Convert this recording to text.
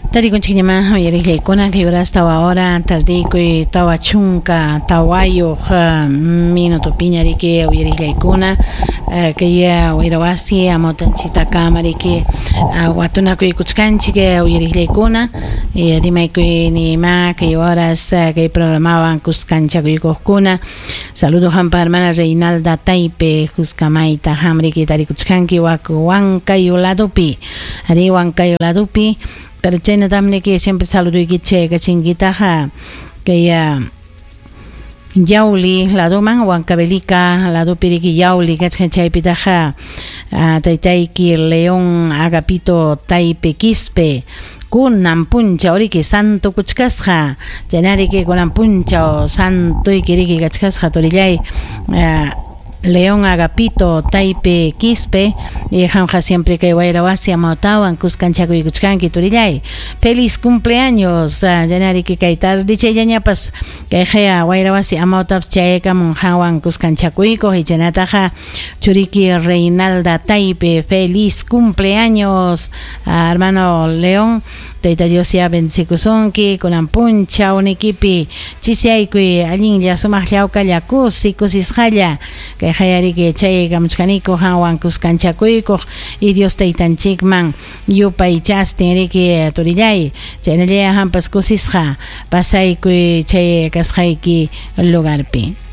Tarikunchikñamá uyariqllaykuna kay horas 4 hora tardiykuy 44 minutopiña riki uyariqllaykuna kay wayrawasi amawtanchiktakama riki watunakuykuchkanchik uyariqllaykuna rimaykuyniymá kay horas kay programawan kuskanchakuykuqkuna. Saludo hampa hermana Reinalda Taipe Juscamayta hamriki tarikuchkanki wak Huancayo ladopi ari Huancayo ladopi, pero chaynatam niki siempre saluduykichik kachinkitaqa kay Yauli ladoman Huancavelica ladopi riki Yauli kachkan chaypitaqa taytayki León Agapito Taipe Quispe kunan punchaw riki santo kuchkasqa chaynariki kunan punchaw santoyki riki kachkasqa turillay León Agapito Taipe Quispe y qamqa siempre kay wayra wasi amawtawan kuskanchakuykuchkanki turillay. Feliz cumpleaños chaynariki kay tardechayllañapas kay qaya wayra wasi amawtapas chayakamun qanwan kuskanchakuykuq y chaynataqa churiki Reinalda Taipe, feliz cumpleaños hermano León. Tayta Dios ya bendecikusunki kunan punchaw nikipi chisaykuy allinlla sumaq llawkalla kusi kusisqalla kay qayariki chaykamuchkaniku qanwan kuskanchakuykuq y Dios taytanchikman yupaychastin riki turillay chaynallaya hampas kusisqa pasaykuy chay kasqayki lugarpi.